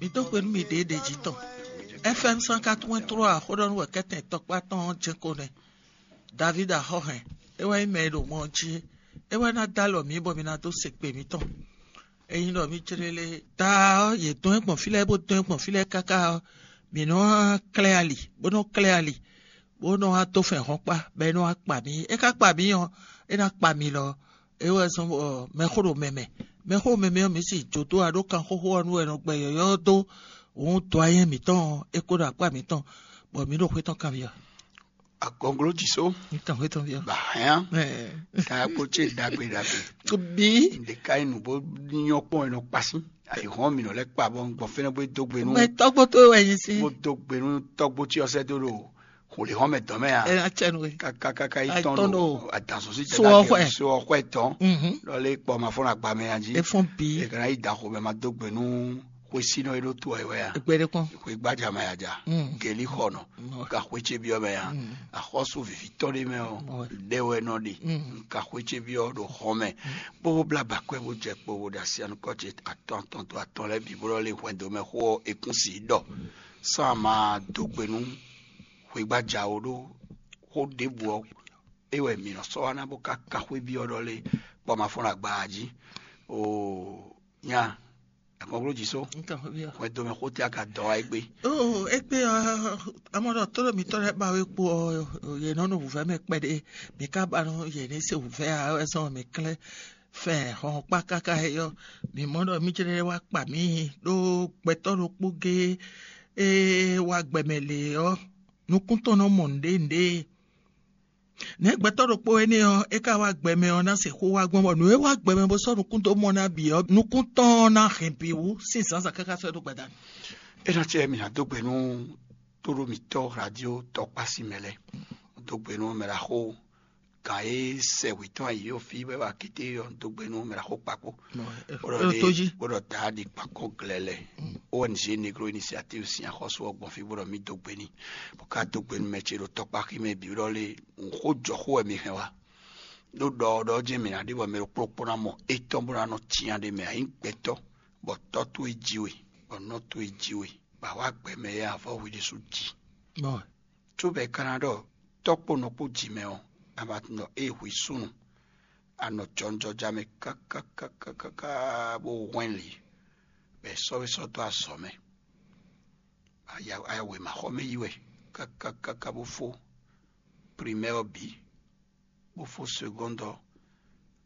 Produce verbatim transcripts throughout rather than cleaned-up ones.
Mi dó xwe nú mi ɖěɖě jí tɔn. F M cent quatre-vingt-trois xó ɖɔ nú wɛ kɛ́tɛn tɔkpá tɔn ɔ́ jɛ́n ko nɛ́. David Axɔ́hɛn, é wɛ nyí mɛ e ɖo mɔ ɔ́ jí é. É wɛ ná dó alɔ mǐ bɔ mi ná dó se kpe mǐtɔn. Ényí ɖɔ mǐ jlé lé ta ɔ́, yě dɔn ɛ gbɔn fí lɛ́ɛ bó dɔn ɛ gbɔn fí lɛ́ɛ káká ɔ́, mǐ nɔ klɛ́ ali, bó nɔ klɛ́ ali, bó nɔ wá dó fɛn hɔn kpá, bɔ é nɔ wá kpa mǐ. É ka kpa mǐ ɔ́, é ná kpa mǐ lɔ. É wɛ zɔ́n bɔ mɛxó ɖo mɛ mɛ. Mɛxó mɛ mɛ ɔ́, mǐ sì jó dó aɖó kan xóxó ɔ́ nú wɛ nɔ gbɛ yɔ̌yɔ́ dó. Òun dó ayé mǐtɔn ɔ́, é kó ɖo akpá mǐtɔn, bɔ mǐ ɖo xwé tɔn kanbyɔ́. Agɔnglo jǐ só. Ní kan xwé tɔn byɔ́. Bahɛn. Ɛ, ta kpo ce ɖagbe ɖagbe. Bí. Ɖeka yi nǔ bó nyɔ kpɔn e nɔ kpasi. Ayi hɔn mi nɔ lɛ kpa bɔ gbɔn fɛnɛ bó dó gbe nú. Mɛ tɔgbo tó wɛ nyi sí. Bó dó gbe nú tɔgbo tí ɔsɛ dó ɖo xolè hɔn mɛ dɔn mɛ ya. Ɛ atsɛ nu. Kakakaka yi tɔn ɖo adanso sí so ɔxɔɛ tɔn. Mhm. Lɔle kpɔ ma fɔn agba mɛ ya jí. Efɔn bí. E kana yi da xo mɛ ma dó gbe nú xwesínɔ e ɖo to ɛ wɛ ya. Egbe ɖe kpɔn. Xwe gbadza mɛ ya ja. Mm. Geli xɔ nɔ. Mm. Ka xwe ce byɔ mɛ ya. Mm. Axɔ́sú vivitɔ ɖé mɛ ɔ. Mm. Ɖe wɛ nɔ ɖe. Mm. Ka xwe ce byɔ ɖo xɔ mɛ. Kpókó blá bakɔ́ bó jɛ kpo bó ɖo asi anukɔ ce atɔn atɔn to atɔn lɛ́ɛ bǐ bó lɔ lé hwɛndo mɛ xó ɔ́ ekún si ɖɔ. Sán a ma dó gbe nú xwe gbadza o ɖó xó ɖěbǔ ɔ́. É wɛ mǐ nɔ sɔ́ wá ná bó ka ka xwé byɔ ɖɔ lé kpɔ ma fɔ́n ɖo agba jí. Oo, nya. Akɔgbló jí só. Nka xwé byɔ. Hwɛ domɛ xó tɛ aka dɔ wá égbé. Oo, égbé ɔ́, amɔ́ ɖɔ tó ɖo mǐtɔn lɛ́ɛ ba wé kpo ɔ́, yě nɔ nɔ wǔvɛ́ mɛ kpɛɖé. Mǐ ka ba nɔ yě ní se wǔvɛ́ ǎ wɛ zɔn mǐ klɛ́ fɛ hɔn kpá káká é ɔ́, mǐ mɔ ɖɔ mí jlɛ́ wá kpa mǐ ɖó gbɛtɔ́ ɖokpó géé e wá gbɛmɛ lě ɔ́, nukún tɔn nɔ mɔ nǔɖé nǔɖé. Nɛ̌ gbɛtɔ́ ɖokpó énɛ́ ɔ́, é ka wá gbɛmɛ ɔ́ ná se xó wá gbɔn bɔ nǔ e wá gbɛmɛ bó sɔ́ nukún dó mɔ ná bǐ ɔ́, nukún tɔn ɔ́ ná hɛn bǐ wú sín zǎnzǎn káká sɔ́ é ɖó gbadanu. É ná cɛ mǐ ná dó gbe nú tóɖó mǐtɔn radio tɔkpási mɛ lɛ́ɛ, dó gbe nú mɛ ɖaxó gǎn e sɛ wětɔn ayǐ ɔ́ fí bɔ é wá kété ɔ́ dó gbe nú mɛ ɖaxó kpakpó. Bó ɖɔ é ɖo tó jí. Bó ɖɔ ta ɖi kpakó glɛlɛ. O N G Negro Initiative sín axɔ́sú ɔ́ gbɔn fí bó ɖɔ mí dó gbe n'i, bó ka dó gbe nú mɛ ce ɖo tɔkpáxi mɛ bǐ ɖɔ lé xó jɔ xó wɛ mi hɛn wá. Ɖó ɖɔ ɔ́ ɖɔ jɛ́n mǐ ná ɖe bɔ mɛ ɖokpó ɖokpó ná mɔ étɔn bó ná nɔ cyán ɖé mɛ ǎ nyí gbɛtɔ́, bɔ tɔ́ towe jí we, bɔ nɔ towe jí we, bɔ a wá gbɛ mɛ e avɔ hwi ɖésú jí. Bɔ Cóbɔ è ka ná ɖɔ tɔ́ kpó nɔ kpó jǐ mɛ ɔ́, a ma tunwun ɖɔ ée hwi súnnu, a nɔ jɔnjɔja mɛ káká káká káká bó hwɛ́n lǐ, bɔ è sɔ́ we sɔ́ dó azɔ̌ mɛ. A ya a ya wěmaxɔmɛ yi wɛ káká káká bó fó primɛ́ ɔ́ bǐ, bó fó segɔ́nd ɔ́,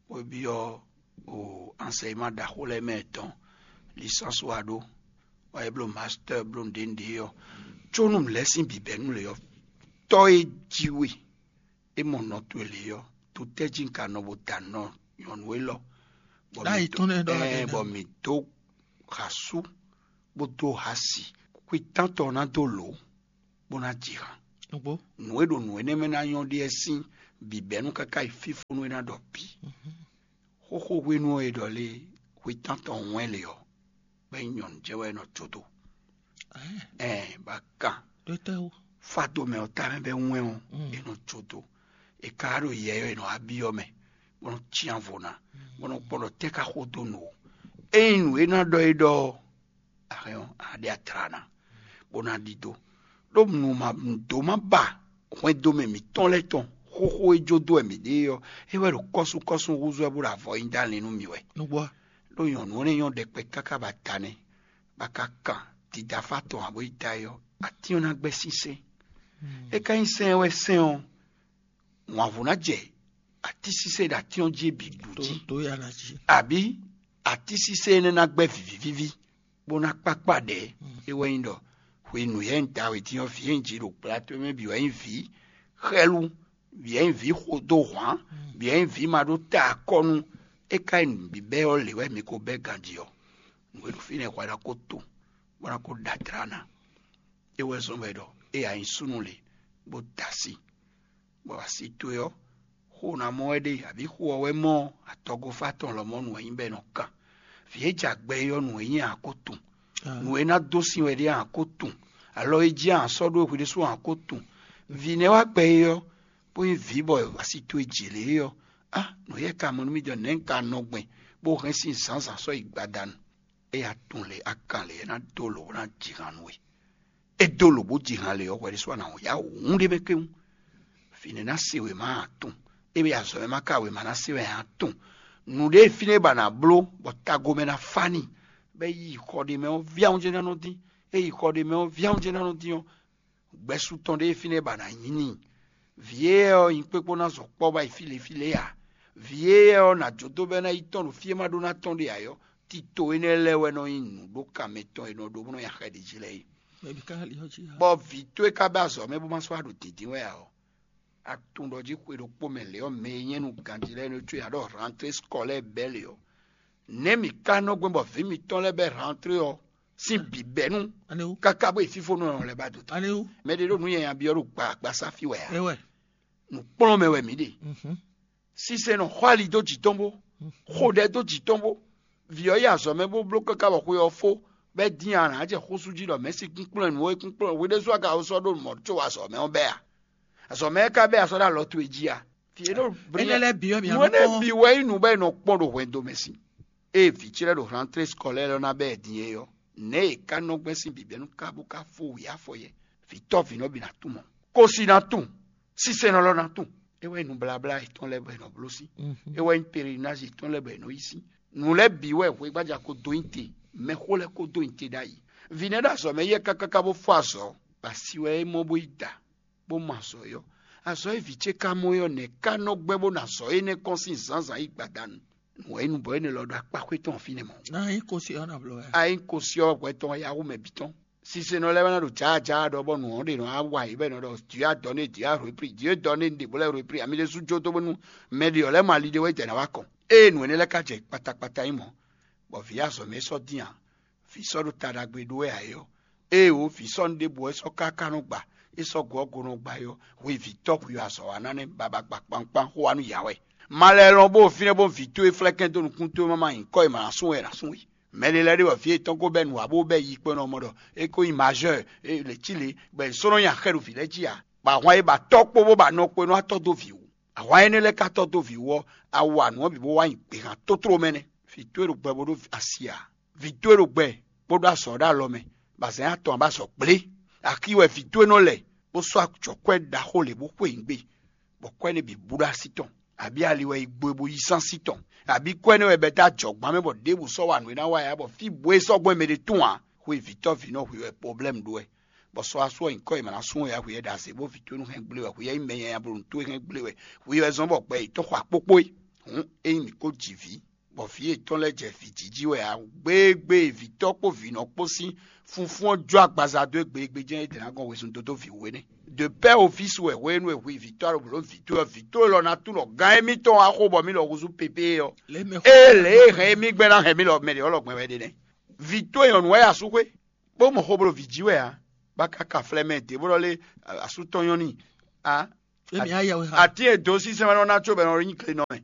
bó byɔ́ o ansɛyima ɖaxó lɛ́ɛ mɛ tɔn, lisánsu wá ɖó, wá yi bló mastɛ́ bló nǔɖé nǔɖé ɔ́, có nú mǐ lɛ́ sín bǐbɛ́nu lě ɔ́, tɔ́ e jí we é mɔ nɔ towe lě ɔ́, to tɛ́ jí un ka nɔ bó da nɔ nyɔ̌nu élɔ́? Bɔ Ɖ'ayǐ mǐ dó- tɔn nɛ́ ɖɔ ɛɛ, bɔ mǐ dó ha sú bó dó ha si, xwetán tɔn ná dó lǒ bó ná ji han. Nǔgbó. Nǔ e ɖo nǔ énɛ́ mɛ ná nyɔ́ ɖíe sín bǐbɛ́nu káká yi fífónú e ná ɖɔ bǐ. Xóxó hwenu ɔ́ e ɖɔ lé hwetán tɔn wɛn lě ɔ́, bɔ é nyí nyɔ̌nu jɛ wɛ é nɔ jó dó. Ɛɛ, bɔ a kan Ɖó tɛ́ wú? Fado mɛ ɔ́ tamɛ bɛ wɛn ɔ́, Mm. é nɔ jó dó. È ka ɖo yɛ ɔ́, è nɔ wá byɔ́ mɛ, bó nɔ cyán vo ná, bó nɔ kpɔ́n ɖɔ tɛ́ ka xó dó nǔ ó. Ényí nǔ e ná ɖɔ é ɖɔ ɔ́, a hɛn ɔ́, a ɖe atlana, bó ná ɖidó. Ɖó nǔ ma nǔdó ma ba hwɛndo mɛ mǐtɔn lɛ́ɛ tɔn xóxó e jó dó wɛ mǐ ɖe é ɔ́, é wɛ ɖo kɔ́súkɔ́sú húzú wɛ bó ɖo avɔ nyi dó alin nú mǐ wɛ. Nǔgbó. Ɖó nyɔ̌nu énɛ́ nyɔ́ ɖɛkpɛ káká ba ta nɛ́, bó ka kan didafá tɔn ǎ bó yi da é ɔ́, atín ɔ́ ná gbɛ́ sínsɛ́n. É ka nyí sɛ́n wɛ sɛ́n ɔ́, wǎnvú ná jɛ atínsínsɛ́n e ɖo atín ɔ́ jí é bǐ ɖu Tó jí. Tó ya ná jí. Àbí atínsínsɛ́n énɛ́ ná gbɛ́ vǐvívíví, bó ná kpákpá ɖɛ̌. É wɛ nyí ɖɔ hwenu yɛ̌ un da wě din ɔ́, vǐ e un ji ɖo gbla towe mɛ bǐ wɛ nyí vǐ xɛ́lú, bǐ wɛ nyí vǐ xodó hwǎn, bǐ wɛ nyí vǐ ma ɖó ta akɔ́nú. É ka nyí nǔ bíbɛ́ ɔ́ lě wɛ mi ko bɛ́ ganjí ɔ́, nǔ e ɖo fínɛ́ hwɛ ná ko to, bó ná ko ɖa dlá ná. É wɛ zɔ́n wɛ ɖɔ é ǎ nyí súnnu lě, bó da asi, bɔ asi towe ɔ́, xó ná mɔ wɛ ɖe, abǐ xó ɔ́ wɛ mɔ atɔgofá tɔn lɔmɔ̌ nǔ e nyí bɔ è nɔ kan. Vǐ e jɛ agbɛ é ɔ́, nǔ e nyí a ko tunwun. Nǔ e ná dó sin wɛ ɖe a ko tunwun. Alɔ e jí a sɔ́ ɖó hwi ɖésú a ko tunwun. Vǐ nɛ́ wá gbɛ é ɔ́, bó nyí vǐ bɔ asi towe jǐ lě é ɔ́, á nǔ yɛ ka mɔ nú mì ɖɔ nɛ̌ un ka nɔ gbɛn bó hɛn sín zǎnzǎn sɔ́ yi gbadanu. É ya tunwun lě akan lě é ná dó lǒ bó ná ji han nú we. É dó lǒ bó ji han lě ɔ́, hwɛ ɖésú a nǎ ya wǔn ɖé mɛ kpéwún. Vǐ nɛ́ ná se wěma atɔn, é wɛ azɔ̌ mɛ ma ka wěma ná se wɛ atɔn. Nǔɖé e fínɛ́ ba nǎ bló bɔ tago mɛ ná fá n'i, bɔ é yi xɔ ɖé mɛ ɔ́, vǐ awunjɛ ná nɔ dín. É yi xɔ ɖé mɛ ɔ́, vǐ awunjɛ ná nɔ dín ɔ́, gbɛ́sú tɔn ɖé e fínɛ́ ba nǎ nyí n'i. Vǐ éyɛ́ ɔ́, nyi kpékpó ná zɔ kpɔ́ ba yi fí lě fí lě ǎ. Vǐ éyɛ́ ɔ́, nǎ jó dó bɔ é ná yi tɔ́n ɖo fí e ma ɖó ná tɔ́n ɖe ǎ ɔ́, tito énɛ́ lɛ́ɛ wɛ nɔ nyí nǔɖokan mɛtɔn e nɔ ɖó bó nɔ nyi axɛ ɖě jí lɛ́ɛ é. Bɔ vǐ towe ka bɛ́ azɔ̌ mɛ bó ma sɔ́ wá ɖo dǐndín wɛ ǎ ɔ́, a tunwun ɖɔ jí xwe ɖokpó mɛ lě ɔ́, mɛ e nyɛ́ nú ganjí lɛ́ɛ nɔ có ya ɖɔ rantré skɔlɛ́ɛ bɛ́ lě ɔ́, nɛ̌ mǐ ka nɔ gbɛn bɔ vǐ mitɔn lɛ́ɛ bɛ́ rantré ɔ́ sín bǐbɛ́nu káká bó yi fífónɔ lɛ́ɛ ba dó ta? Mɛ ɖé ɖo nǔ nyanya byɔ́ ɖo gbǎgbásá fí wɛ ǎ. Nǔkplɔ́nmɛ wɛ mǐ ɖe. Sise nɔ xɔ ali dó jǐ tɔn bó, xo ɖɛ dó jǐ tɔn bó. Vǐ ɔ́ yi azɔ̌ mɛ bó bló káká bɔ xwe ɔ́ fó, bɔ é dín a nǎ jɛ xúsú jí ɖɔ mɛ̌si kúnkplɔ́n nǔ e kúnkplɔ́n hwe ɖésú a ka ko sɔ́ ɖó mɔ̌ có azɔ̌ mɛ ɔ́ bɛ́ a? Azɔ̌ mɛ ɔ́ ka bɛ́ a sɔ́ ɖó alɔ towe jí a? Vǐ e ɖo Énɛ́ lɛ́ɛ bǐ wɛ mǐ nǎ nǔ nɔ énɛ́ kpɔ́n. Bǐ wɛ nyí nǔ bɔ è nɔ kpɔ́n ɖo hwɛndo mɛ sín. Ée vǐ ce lɛ́ɛ ɖo rantré skɔlɛ́ɛ ɔ́ ná bɛ́ ɛ din é ɔ́, nɛ̌ è ká nɔ gbɛ́ sín bǐbɛ́nu kábú ká fó wǐ afɔ yɛ? Vǐ tɔ́ vǐ nɔ bǐ ná tunwun mɔ̌. Kosi ná tunwun, sísɛ́nɔ lɔ ná tunwun. É wɛ nyí nǔbláblá yětɔn lɛ́ɛ bɔ è nɔ bló sín. É wɛ nyí perenázi yětɔn lɛ́ɛ bɔ è nɔ yí sín. Nǔ lɛ́ɛ bǐ wɛ hwegbaja ko dó nyi te, mɛxó lɛ́ɛ ko dó nyi te ɖ'ayǐ. Vǐ nɛ́ ɖo azɔ̌ mɛ yɛ kákáká bó fó azɔ̌, bɔ asi wɛ é mɔ bó yi da, bó mɔ azɔ̌ é ɔ́. Azɔ̌ e vǐ ce ka mɔ é ɔ́, nɛ̌ ká nɔ gbɛ́ bó ná azɔ̌ énɛ́ kɔn sín zǎnzǎn yi gbadanu? Nǔ wɛ nyí nǔ bɔ énɛ́ lɔ ɖo akpa xwé tɔn ɔ́ fínɛ́ mɔ̌. Ná nyí kosi ɔ́ ná bló wɛ. A nyí kosi ɔ́ hwɛ tɔn wɛ yá hu mɛ bǐ tɔn. Sisenɔ lɛ́ɛ wɛ ná ɖo jǎjǎ ɖɔ bɔ nǔ ɔ́ ɖe nɔ wá wa yě bɔ è nɔ ɖɔ Dieu a donné, Dieu a repris, Dieu donné ɖě bó lɛ́ repris, ami ɖésú jó dó bónú mɛ ɖě ɔ́ lɛ́ mɔ ali ɖé wɛ jɛ ná wá kɔn. Ée nǔ énɛ́ lɛ́ɛ ka jɛ kpatakpata nyí mɔ̌, bɔ vǐ azɔ̌ mɛ é sɔ́ dín ǎ, vǐ sɔ́ ɖo ta ɖagbe ɖó wɛ ǎ é ɔ́, ée wǒ vǐ sɔ́ nu ɖěbǔ wɛ é sɔ́ káká nɔ gba, é sɔ́ gɔ̌ go nɔ gba é ɔ́, hwe vǐ tɔ́ hwi azɔ̌ wa ná nɛ́ babagbakpankpan xó wa nú yǎ wɛ. Ma lɛ́ lɔn bó fínɛ́ bó vǐ towe flɛ́kɛ́n dó nukún towe má ma nyǐkɔ e ma ná sú wɛ è nǎ sú we. Mɛ ɖé lɛ́ɛ ɖe bɔ vǐ yětɔn ko bɛ́ nǔ ǎ bó bɛ́ yi kpɔ́n ɔ́ mɔ ɖɔ é ko nyí mazɔ́ɔ, lě cí lě, bɔ è sɔ́ nɔ nyi axɛ ɖo vǐ lɛ́ɛ jí ǎ, bɔ ahwan e ba tɔ́ kpó bó ba nɔ kpó é nɔ wá tɔ́ dó vǐ wú. Ahwan énɛ́ lɛ́ɛ ka tɔ́ dó vǐ wú ɔ́, a wa nǔ ɔ́ bǐ bó wá nyi gběhan tótló mɛ nɛ́. Vǐ towe ɖo gbɛ bó ɖó asi ǎ. Vǐ towe ɖo gbɛ bó ɖó azɔ̌ ɖo alɔ mɛ, bɔ azǎn atɔn ǎ bɔ azɔ̌ gblé. Axi wɛ vǐ towe nɔ lɛ, bó sɔ́ ajɔ̌kwɛ́ ɖaxó lě bó xwe nyi gbe, bɔ kwɛ́ nɛ́ bǐ bú ɖó así tɔn, abǐ ali wɛ yi gbo e bó yí sán sí tɔn, abǐ kwɛ́ nɛ́ wɛ bɛ́ dó ajɔ̌gbán mɛ bɔ ɖěbǔ sɔ́ wa nǔ e ná wa ɛ ǎ, bɔ fí bǔ e sɔ́ gbɔn mɛ ɖé tún ǎ. Xwe vǐtɔ́ vǐ nɔ hwi wɛ pɔblɛ́mu ɖó wɛ, bɔ sɔ́ asú ɔ́ nyǐkɔ e mǎ ná sú wɛ ǎ, hwi wɛ ɖo azě bó vǐ towe nú hɛn gblé wɛ, hwi wɛ nyí mɛ nyanya bo nǔ towe hɛn gblé wɛ, hwi wɛ zɔ́n bɔ gbɛ yětɔn xɔ akpókpó é. Hǔn ényí mǐ ko ji vǐ, bɔ vǐ yětɔn lɛ́ɛ jɛ vǐ jiji wɛ ǎ, gbégbé e vǐtɔ́ kpó vǐnɔ kpó sín funfún ɔ́ jó agbaza dó égbé égbé jɛ́n é dě ná gɔn wezun dó dó vǐ wú é nɛ́. De pɛ́ ofísu wɛ hwenu e hwi vǐtɔ́ ɖo blǒ vǐ towe ɔ́, vǐ towe lɔ ná tunɔ gán émítɔn wá xo bɔ mí lɔ húzú pépé ɔ́. Ée lě e hɛn émí gbɛ́ ná hɛn mí lɔ mɛ ɖě ɔ́ lɔ gbɛn wɛ ɖe nɛ́. Vǐ towe nyɔ̌nu wɛ yi asú xwé, bó mɔ xó bló vǐ jí wɛ ǎ, bó ka ka flɛ́ mɛ dě bó ɖɔ lé asú tɔn nyɔ́ n'i ǎ. Émi á yɛ wɛ xa. Atín e dǒ sísɛ́n wɛ nɔ ná có bɔ è nɔ nyí glenɔ mɛ.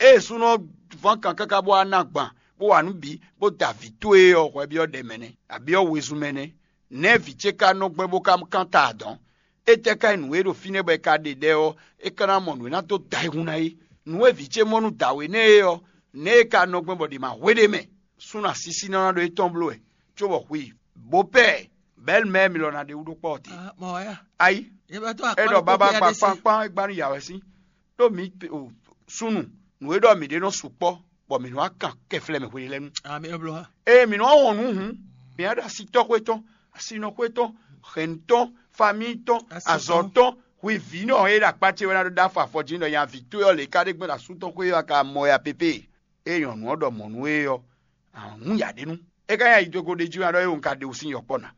Ée súnnu ɔ́ ván kan káká bó wá ná agban, bó wa nǔ bǐ, bó da vǐ towe ɔ́ hwɛ byɔ́ ɖɛ mɛ nɛ́, abǐ ɔ́ wezun mɛ nɛ́. Nɛ̌ vǐ ce ka nɔ gbɛn bó ka kán ta adɔ̌n? Étɛ́ ka nyí nǔ e ɖo fínɛ́ bɔ è ka ɖe ɖɛ ɔ́, é ka ná mɔ nǔ e ná dó da ayihún ná é. Nǔ e vǐ ce mɔ nú dǎwe nɛ́ é ɔ́, nɛ̌ é ka nɔ gbɛn bɔ ɖě ma hwe ɖ'é mɛ? Súnnu asísí nɔ ná ɖo étɔn bló wɛ, cóbɔ hwi bopɛ́ɛ bɛ̌lmɛ́ mi lɔ ná ɖe wú ɖó kpɔ́ ɔ́ te. Ayi, é ɖɔ bábá gba kpánkpán é gbá nú yǎwɛ́sín. Ɖó mi súnnu, nǔ e ɖɔ mǐ ɖe nɔ sukpɔ́, bɔ mǐ nɔ wá kan kɛflɛ́ mɛ hweɖélɛ́nu. Ée mǐ nɔ wɔn nǔ hǔn, mǐ á ɖo asitɔ́ xwé tɔn, asinɔ xwé tɔn, hɛ̌nnu tɔn, famíi tɔn, azɔ̌ tɔn, hwi vǐ nɔ e ɖo akpá ce wɛ ná ɖo ɖó afɔ afɔ jí nɔ nya vǐ towe ɔ́ lě ká ɖe gbɛ́ ɖo asú tɔn xwé ɔ́ a ka mɔ ya pépé. Ée nyɔ̌nu ɔ́ ɖɔ mɔ̌ nú é ɔ́, a hún ya ɖě nu. É ka nyí ayi dó go ɖ'é jí wɛ ɖɔ é wun ka ɖe wǔ sín yɔkpɔ́ ná.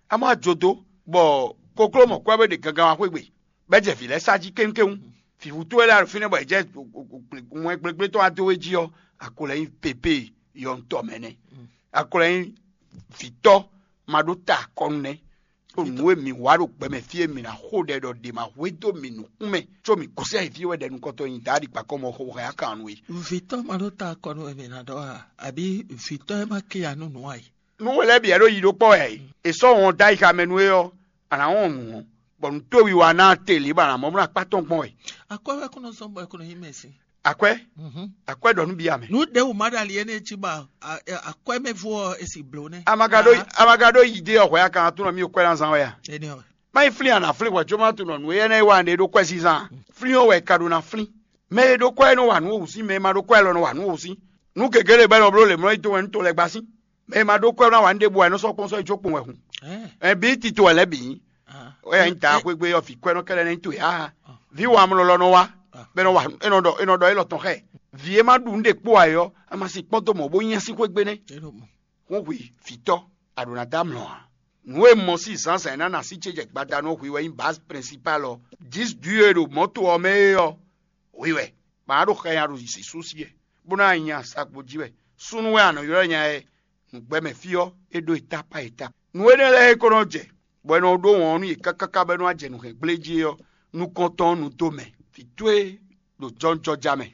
A má jó dó, bɔ kokló mɔ̌ kwɛ́ bó ɖe gangan wá xwé gbe, bɔ é jɛ vǐ lɛ́ɛ sá jí kéwúnkéwún. Vǐvú towe lɛ́ɛ ɖo fínɛ́ bɔ è jɛ wɛn gblégblé tɔn wá dó we jí ɔ́, a ko lɛ́ nyí pépé yɔntɔ́ mɛ nɛ́. A ko lɛ́ nyí vǐtɔ́ ma ɖó ta akɔnu nɛ́. Ɖo nǔ e mǐ wa ɖo gbɛ mɛ fí e mǐ ná xo ɖɛ ɖɔ ɖě ma hwedó mǐ nukún mɛ, có mǐ gosín ayǐ fí e wɛ ɖɛ nukɔntɔn nyi Daadi kpakɔ́ mɔ xo hɛn akan nú we. Vǐtɔ́ ma ɖó ta akɔnu wɛ mǐ ná ɖɔ a? Abǐ vǐtɔ́ e ma ké ya nú nǔ ǎ é? Nú we lɛ́ɛ bǐ wɛ ɖo yi ɖó kpɔ́ wɛ ǎ é. È sɔ́ wɔn dó ayixa mɛ nú we ɔ́, a nǎ wɔn nǔ ɔ́, bɔ nǔ towe wiwa ná te lě bɔ a nǎ mɔ bó ná kpá tɔn gbɔn wɛ. Akwɛ́ wɛ kún nɔ zɔ́n bɔ è kún nɔ nyí mɛ sín. Akwɛ́, akwɛ́ ɖɔ nú bia mɛ. Nǔ ɖěbǔ ma ɖo ali énɛ́ jí ba akwɛ́mɛvo ɔ́ e si blǒ nɛ́. Amagaɖo amagaɖo yi dé ɔhwɛ akan atúnɔ mi kwɛ ná zán wɛ a? Énɛ́ ɔ́. Má yi flín a nǎ flín hwɛ̌ có má tunɔ nǔ énɛ́ e wa ɖe ɖó kwɛ́ zínzán a? Flín ɔ́ wɛ è ka ɖó ná flín. Mɛ e ɖó kwɛ́ é nɔ wa nǔ wǒ sín, mɛ e ma ɖó kwɛ́ lɔ nɔ wa nǔ wǒ sín. Nǔ gěgé lě bɔ é nɔ bló lě mlɔ́ yi dó wɛ nú to lɛ́ɛ gbá sín. Mɛ e ma ɖó kwɛ́ ná wa nǔ ɖěbǔ ǎ, é nɔ sɔ́ kpɔ́n sɔ́ yi có kpɔ́n wɛ hun. Ɛn bǐ tito wɛ lɛ́ bǐ nyí. Ó yɛ nyí ta xwé gbé ɔ́, vǐ kwɛ́ nɔ kɛ́ɖɛ́ ná nyí towe ǎ. Vǐ wa mlɔlɔ nɔ wá, bɔ é nɔ wa é nɔ ɖɔ é nɔ ɖɔ élɔ́ tɔn xá ɛ. Vǐ e ma ɖu nǔ ɖě kpó ǎ é ɔ́, a ma sin kpɔ́n dó mɔ̌ bó nyá sín xwé gbé nɛ́. Hún hwi vǐtɔ́, a ɖǒ ná dó amlɔ ǎ. Nǔ e mɔ sín zǎnzǎn e ná na sí ce jɛ gbada nú hwi wɛ nyí bǎz prɛnsipál ɔ́. Jǐs dǔ e ɖo mɔ̌to ɔ́ mɛ é ɔ́, hwi wɛ. Ba ná ɖo xɛ nya ɖo zǐsúsí wɛ, bó ná nya sakpo jí wɛ. Súnnu wɛ a nɔ ylɔ́ nya ɛ nǔgbɛ́mɛ fí ɔ́, é ɖó eta pá eta. Nǔ énɛ́ lɛ́ɛ e ko nɔ jɛ, bɔ è nɔ ɖó wɔn nú yě káká bɔ é nɔ wá jɛ nǔhɛngblé jí é ɔ́, nukɔntɔn ɔ́ nu dó mɛ. Vǐ towe ɖo jɔnjɔja mɛ.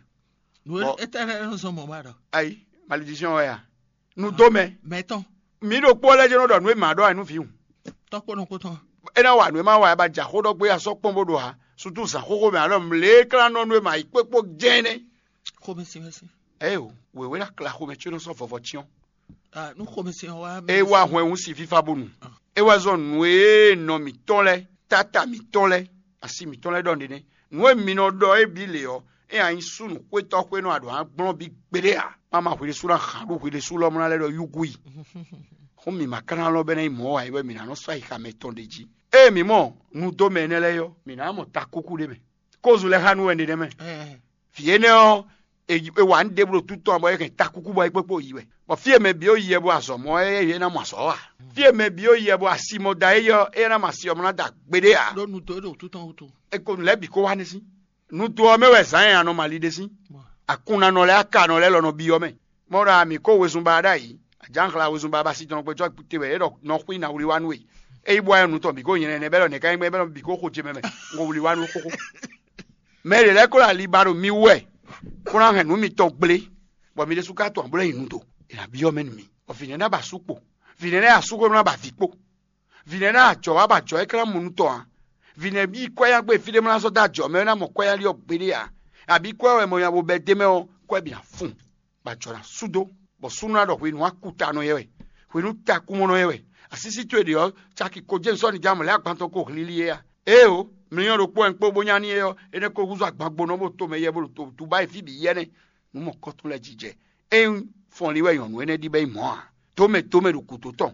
Nǔ étɛ́ lɛ́ɛ nɔ zɔn mɔ̌ ma ɖɔ? Ayi, malédiction wɛ a? Nu dó mɛ. Mɛ tɔn. Mǐ ɖokpó lɛ́ɛ jɛ́n nɔ ɖɔ nǔ e mǎ ɖɔ wɛ nú vǐ hǔn. Tɔ́ kpó nɔ kpó tɔn. É ná wa nǔ e ma wa wɛ ba jɛ axó ɖɔ gbé asɔ́ kpɔ́n bó ɖo ǎ. Sutu zǎn xóxó mɛ alɔ mlě klánɔ́ nú e ma yi kpékpó jɛ́n nɛ́. Xomɛsin wɛ sín. Ée o, wěwé ná kla xomɛ có nɔ sɔ́ vɔvɔ cyɔ́n. Ah, nú xomɛsin ɔ́ wá. É wá hwɛn wú si fífá bónu. É wá zɔn nǔ e nɔ mǐtɔn lɛ́ɛ, táta mǐtɔn lɛ́ɛ, asi mǐtɔn lɛ́ɛ ɖɔ nǔɖé nɛ́. Nǔ e mi nɔ ɖɔ é bǐ lě ɔ́, é ná nyí súnnu xwétɔ́ xwé nɔ aɖǒ ná gblɔ́n bí gbeɖé ǎ. Má ma hwi ɖésú ná hǎn ɖó hwi ɖésú lɔmlá lɛ́ɛ ɖɔ yúgú yi. Xó mǐ ma ka ná lɔn bɔ é ná nyí mɔ̌ ǎ é wɛ mǐ ná nɔ sɔ́ ayixa mɛtɔn ɖé jí. Ée mǐ mɔ nudómɛ énɛ́ lɛ́ɛ ɔ́, mǐ ná mɔ takúkú ɖé mɛ. Kózu lɛ́ɛ xá nú wɛ ɖé nɛ́ mɛ. Vǐ énɛ́ ɔ́, è wa nǔ ɖěbǔ ɖo títɔn bɔ é hɛn takúkú bɔ é kpékpó yi wɛ. Bɔ fí e mɛ bǐ ó yi wɛ bɔ azɔ̌ mɔ é é ná mɔ azɔ̌ ɔ́ ǎ. Fí e mɛ bǐ ó yi wɛ bɔ asi mɔ da é yɔ é ná mɔ asi ɔ́ mɔ ná da gbeɖé ǎ. Ɖó nu dó é ɖo títɔn wútu. É ko nǔ lɛ́ɛ bǐ kó wá ní sín. Nu dó ɔ́ mɛ wɛ zǎn e a nɔ ma li ɖe sín. Akunnanɔ lɛ́ɛ akanɔ lɛ́ɛ lɔ nɔ byɔ́ mɛ. Mɔ ɖɔ a mǐ kó wezun ba ɖ'ayǐ. Ajǎnxla wezun ba ba si tɔn kpɛ́ cɔ́ te wɛ é ɖɔ nɔ xwí ná wlí wá nú we. É yi bɔ wá nyɔ̌nu tɔn bǐ kó nyɛ nɛnɛ bɛ́ ɖɔ nɛ̌ ká nyí gbɛ́ bɛ́ ɖɔ bǐ kó xo ce mɛ mɛ. Un ko wlí wá nú xóxó. Mɛ ɖě lɛ́ɛ ko ɖo ali ba ɖo mi wú wɛ, bó ná hɛn nǔ mitɔn gblé, bɔ mi ɖésú ka tunwun bó ná yi nu do. È nǎ byɔ́ mɛ nú mi. Bɔ vǐ nɛ́ ná ba asú kpo. Vǐ nɛ́ ná yi asú xwé bó ná ba vǐ kpo. Vǐ nɛ́ ná ajɔ̌ wá bɔ ajɔ̌ é ka ná mɔ nú tɔn ǎ. Vǐ nɛ́ bí kwɛ́ yá gbe fí ɖé mɔ ná zɔ́ dó ajɔ̌ mɛ é ná mɔ kwɛ́ yá ɖi ɔ́ gbeɖé ǎ. Abǐ kwɛ́ wɛ mɔ nya bo bɛ́ d'é mɛ ɔ́, kwɛ́ bǐ ná fun, bɔ ajɔ̌ ná sú dó, bɔ súnnu ná ɖɔ hwenu akutanɔ yɛ wɛ, hwenu takúmɔnɔ yɛ wɛ. Asísí towe ɖě ɔ́, caki ko jɛ́n sɔ́ nijǎmɔ lɛ́ɛ agban tɔn ko hlílí é a? Éeǒ, mlɔ́ ɖokpó wɛ un kpó bó nya n'i é ɔ́, énɛ́ ko húzú agbangbónɔ bó to mɛ yɛ bó ɖo to Dubayi fí bǐ yɛ́nɛ́. Nǔ mɔ̌kɔ́tɔn lɛ́ɛ jijɛ. Ényí fɔnlí wɛ nyɔ̌nu énɛ́ ɖi bɔ é nyí mɔ̌ ǎ, dǒmɛ dǒmɛ ɖo gǔdo tɔn,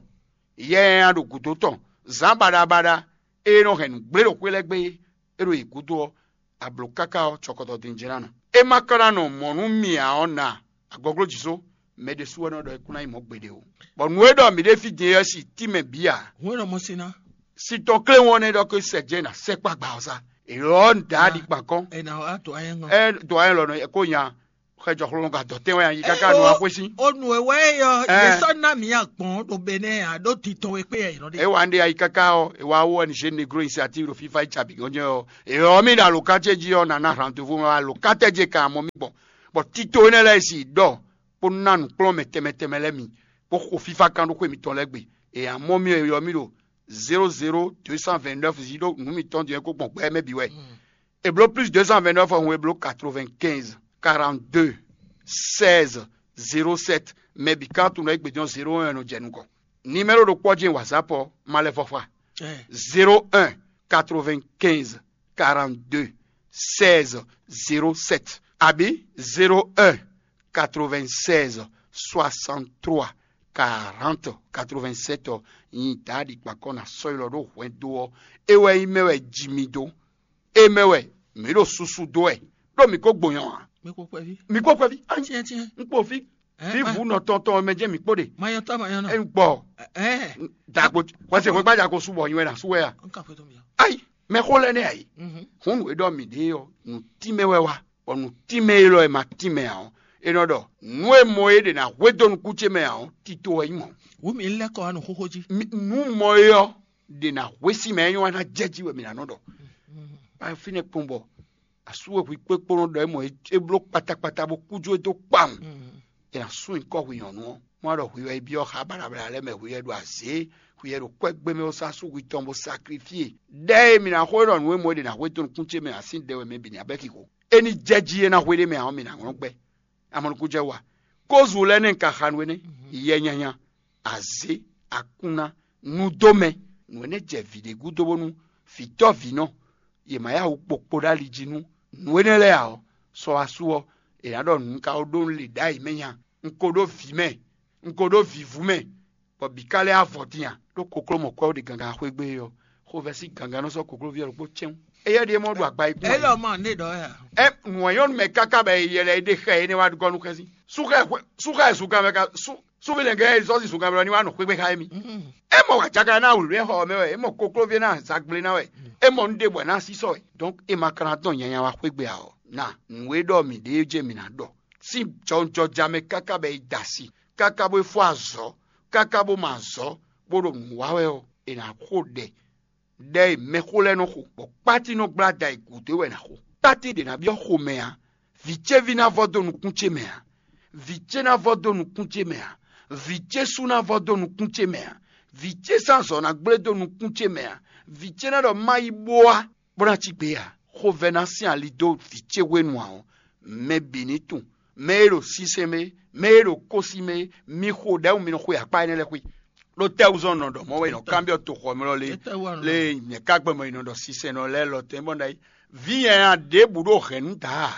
yɛ nyanya ɖo gǔdo tɔn, zǎn baɖabaɖa e nɔ hɛn nǔ gblé ɖo xwé lɛ́ɛ gbe é ɖo yě gúdo ɔ́, a blǒ káká ɔ́, cɔkɔtɔ din jɛ́n ná nɔ. É ma ka ná nɔ mɔ̌ nú mì ǎ ɔ́, na agɔglójǐ só, mɛ ɖésú wɛ nɔ ɖɔ é kún ná nyí mɔ̌ gbeɖé o. Bɔ nǔ e ɖɔ mǐ ɖe fí din é ɔ́, si tínmɛ bǐ ǎ. Hǔn e nɔ mɔ sin ná. Si tɔn kléwɔn nɛ́ ɖɔ ké sɛ jɛ́n ná sɛkpá gbǎ ɔ́ sá. È lɔ́ ń dǎ ɖi kpan kɔ́n. È nǎ wá dǒ anyɛ ŋɔ. Ɛ dǒ anyɛ lɔ nɔ kó nya. Xɛ jɔxlɔ́ nɔ gǎ dɔ̌ tɛn wɛ nyi káká nu axwé sín. Ó nu e wɛ é yɔ, yě sɔ́ ná mǐ agbɔ̌n ɖo Benɛ́ɛ ǎ, ɖó titɔn e kpé yɛ yě nɔ ɖe. É wa un ɖe ayi káká ɔ́, è wá wú wɛ ni zé negro initiative ɖo fífá yi cabi gɔ́n jɛ́n ɔ́, è ɔ́ mì ɖo alǒkátɛ́ jí ɔ́, nǎ ná rendez-vous mɛ wá alǒkátɛ́ jí e ka mɔ mì gbɔn, bɔ tito énɛ́ lɛ́ɛ e si ɖɔ bó ná nǔkplɔ́nmɛ tɛnmɛ tɛnmɛ lɛ́ɛ mi, bó xo fífá kán ɖó xwé mitɔn lɛ́ɛ gbe. È ǎ mɔ mì ɔ́, è ylɔ́ mì ɖo zéro zéro deux cent vingt-neuf zi ɖó nǔ mitɔn din ɔ́ kó gbɔn gbɛ mɛ bǐ wɛ. È blǒ plus deux cent vingt-neuf ɔ́, hǔn è blǒ quatre-vingt-quinze quarante-deux seize zéro sept. Mɛ bǐ ká tunwun ɖɔ é gbějɔ́n zéro un nɔ jɛ nukɔn. Nimɛ́ro ɖokpó ɔ́ jɛ́n WhatsApp ɔ́, ma lɛ́ vɔ xwa. Zéro un quatre-vingt-quinze quarante-deux seize zéro sept abǐ zéro un quatre-vingt-seize soixante-trois quarante quatre-vingt-sept ɔ́, nyi Daadi kpankɔn ná sɔ́ ylɔ́ ɖó hwɛndo ɔ́. É wɛ nyí mɛ wɛ ji mi dó. É mɛ wɛ mǐ ɖo susu dó wɛ, ɖó mǐ ko gbonyɔ ǎ. Mi kpó kpɛví. Mi kpó kpɛví. Tiɛn tiɛn. Un kpo fí. Fí vǔ nɔ tɔn tɔn mɛ jɛ́n mǐ kpo ɖe. Mayɔtɔ mayɔnɔ. Ɛ gbɔ. Ɛ. Dagbo wɛsɛ xwe gbadza ko subɔ nyi wɛ na su wɛ a. N ka xwe tɔn mi. Ayi, mɛ xó lɛ nɛ ayi. Hun nu e ɖɔ mǐ ɖe ɔ́, nǔ tínmɛ wɛ wa, bɔ nǔ tínmɛ élɔ́ e ma tínmɛ ǎ ɔ́, é nɔ ɖɔ nǔ e mɔ é ɖe ná hwedó nukún ce mɛ ǎ ɔ́, tito wɛ nyí mɔ̌. Wǔ mǐ lɛ́ kɔ wá nǔ xóxó jí. Nǔ mɔ é ɔ́ ɖe ná hwesí mɛ é nyɔ́ wá ná jɛ jí wɛ mǐ ná nɔ ɖɔ. Ba fínɛ́ kpɔ́n bɔ asú e hwi kpékpó nɔ ɖɔ é mɔ é bló kpatakpata bó kú jó é dó kpawun. È nǎ sú nyǐkɔ hwi nyɔ̌nu ɔ́. Má ɖɔ hwi wɛ é byɔ́ xá baɖabaɖa lɛ́ɛ mɛ, hwi wɛ ɖo azě, hwi wɛ ɖo kwɛ́gbɛ́ mɛ bó sá sú hwi tɔn bó saklifíe. Ɖɛ̌ e mǐ ná xo é ɖɔ nǔ e mɔ é ɖe ná hwedó nukún ce mɛ ǎ sín ɖɛ wɛ mɛ bǐ ná bɛ́ xixo. É ní jɛ jí é ná hwe ɖé mɛ ǎ ɔ́, mi nǎ hlɔ́n gbɛ. Amɔnukúnjɛ wa, kózu lɛ́ɛ nɛ́ un ka xa nú énɛ́? Yɛ nyanya, azě, akunna, nudómɛ, nǔ énɛ́ jɛ vǐ ɖé gúdo bónú vǐtɔ́vǐnɔ yě ma yá wǔ kpokpo ɖó ali jí nú nǔ énɛ́ lɛ́ɛ ǎ ɔ́, sɔ asú ɔ́, è nǎ ɖɔ nǔ ka ko ɖó nǔ le ɖ'ayǐ mɛ nya. Un ko ɖó vǐ mɛ, un ko ɖó vǐvú mɛ, bɔ bǐ ka lɛ́ avɔ din a? Ɖó kokló mɔ̌kɔ́ ɖe gangan xwé gbe é ɔ́, xovɛ́ sín gangan nɔ sɔ́ kokloví ɔ́ ɖokpó cɛ́n. Éyɛ́ ɖíe mɔ ɖo agba yi kún. Elɔ ma ne ɖɔ ya. Ɛ nǔ e nyɔ́nu mɛ káká bɔ yɛ lɛ́ɛ ɖe xɛ énɛ́ wá gɔ́ nú xɛsi. Sú xɛ xwe- sú xɛ zunkan mɛ ka sú súnmí lɛ̌ngbɛ́ e zɔ́ sin zunkan mɛ ɔ́ ní wá nɔ xwé gbe xá émí. É mɔ wǎjáka ná wlǐwlí xɔ ɔ́ mɛ wɛ, é mɔ koklóví ná zagblé ná wɛ, é mɔ nǔ ɖěbǔ ná sísɔ wɛ. Donc é ma ka ná dɔn nyanya wá xwé gbe ǎ ɔ́, na nǔ e ɖɔ mǐ ɖe é jɛ mǐ ná ɖɔ. Sín jɔnjɔja mɛ káká bɔ è da asi, káká bó é fó azɔ̌, káká bó ma azɔ̌, bó ɖo nǔ wa wɛ ɔ́, è nǎ xo ɖɛ ɖɛ e mɛxó lɛ́ɛ nɔ xo, bɔ kpáti nɔ gblá da e gǔdo é wɛ è nǎ xo. Kpáti ɖě ná byɔ́ xomɛ ǎ. Vǐ ce ví ná vɔ dó nukún ce mɛ ǎ. Vǐ ce ná vɔ dó nukún ce mɛ ǎ. Vǐ ce sú ná vɔ dó nukún ce mɛ ǎ. Vǐ ce sín azɔ̌ ná gblé dó nukún ce mɛ ǎ. Vǐ ce ná ɖɔ má yi bó wá, bó ná cí gbe ǎ. Xovɛ́ ná sín ali dó vǐ ce hwenu ǎ ɔ́, mɛ bǐ ní tunwun, mɛ e ɖo sinsɛn mɛ, mɛ e ɖo kósi mɛ, mi xo ɖɛ̌ mi nɔ xwe akpá énɛ́ lɛ́ɛ xwe. Ɖó tɛ́wúzɔ́ nɔ ɖɔ mɔ̌ wɛ è nɔ kanbyɔ́ toxɔmlɔ lé, lé nyɛ̌ ka gbɔn mɔ è nɔ ɖɔ sinsɛnnɔ lɛ́ɛ lɔ tɛn bɔ ɖ'ayǐ. Vǐ nyanya ɖěbǔ ɖo hɛ̌nnu da ǎ.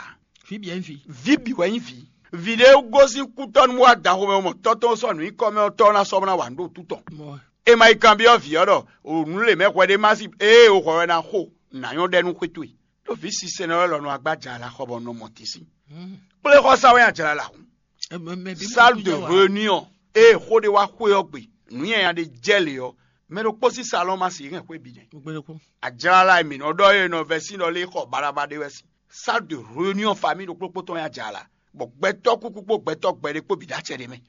Vǐ bǐ wɛ nyí vǐ. Vǐ bǐ wɛ nyí vǐ. Vǐ ɖé gosín kútɔ́ nú wá da xomɛ mɔ tɔ́ tɔn sɔ́ nǔ nyí kɔ́mɛ ɔ́, tɔ́ ná sɔ́ ná wǎ nú ɖo tú tɔn. Mɔ wɛ. È ma yi kanbyɔ́ vǐ ɔ́ ɖɔ nǔ lě mɛ hwɛ ɖé má sí ée o hwɛ wɛ ná xo nǎ nyɔ́ ɖɛ nú xwé towe. Ɖó vǐ sinsɛnnɔ lɛ́ɛ lɔ nɔ agbája ala xɔ bɔ nɔ mɔ tín sín. Kpléxɔsá wɛ ajlala hǔn. Salle de réunion ée xó ɖé wá xwé ɔ́ gbe, nǔ nyanya ɖé jɛ lě ɔ́, mɛ ɖokpó sín salɔ́n ma sixú hɛn xwé bǐ nɛ́. Ajlala e mǐ nɔ ɖɔ é nɔ vɛ́ sín ɖɔ lé xɔ baɖabaɖa ɖé wɛ sín. Salle de réunion famille ɖokpó kpó tɔn nyí ajlala, bɔ gbɛtɔ́ kúkú kpó gbɛtɔ́ gbɛɖé kpó bǐ ɖo acɛ ɖé mɛ.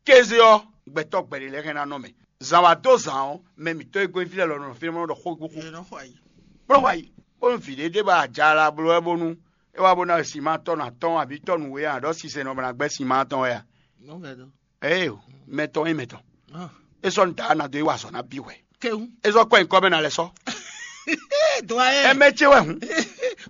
Kéze ɔ́, gbɛtɔ́ gbɛɖé lɛ́ɛ hɛn ná nɔ mɛ. Zǎn wá dó zǎn ɔ́, mɛ mǐtɔn e gɔ́nyí fí lɛ́ɛ lɔ nɔ fínɛ́ nɔ ɖɔ xó e gbó xó. Kplɔ́n wá yi, bónú vǐ ɖé ɖé ba ajala bló wɛ bónú é wá bó ná wɛ sin ma tɔ́ nɔ atɔ́ɔ́n abǐ tɔ́ nǔwe ǎ, ɖɔ sinsɛn nɔ bó ná gbɛ́ sin ma tɔn wɛ a? Ée o, mɛ tɔn nyí mɛ tɔn. É sɔ́ nǔ da ná dó é wa azɔ̌ ná bí hwɛ. É sɔ́ kɔ nyǐkɔ mɛ ná lɛ́ sɔ́. Doyen. Ɛ mɛ ce wɛ hǔn.